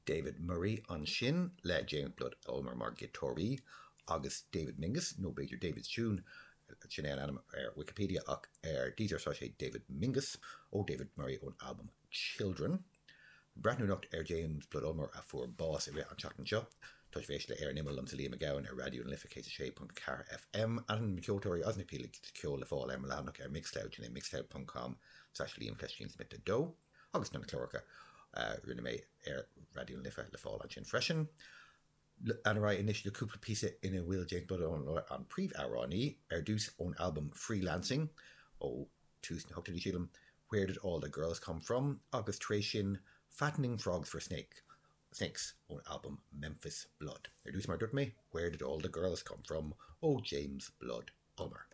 David Murray ansin le James Blood Ulmer mar ghiotáraí agus David Mingus, nó b'fhéidir David's Tune, sin é an ainm ar Wikipedia ach ar Deezer tá sé David Mingus, ó David Murray ón albam Children. Breathnú anocht ar James Blood Ulmer a fuair bás i rith an tseachtain seo. Tá sibh ag éisteacht le Ar an Imeall liomsa Liam Mac Gabhann ar Raidió na Life 106.4 FM. Ainm na ceoltóirí agus na píosaí ceoil le fáil ar mo leathanach ar Mixcloud, sin é mixcloud.com slash Liam Cleistín Smith 2. Agus na cláracha a rinne mé ar Raidió na Life le fáil ansin freisin. Ar aghaidh anois le cúpla píosa ina bhfuil James Blood Ulmer an príomhamhránaí, ar dtús ón albam Freelancing ó tús na hochtóidí sílim, Where Did All The Girls Come From agus tar éis sin Fattening Frogs For Snake, Snakes ón albam Memphis Blood. Ar dtús mar a dúirt mé, Where Did All The Girls Come From ó James Blood Ulmer.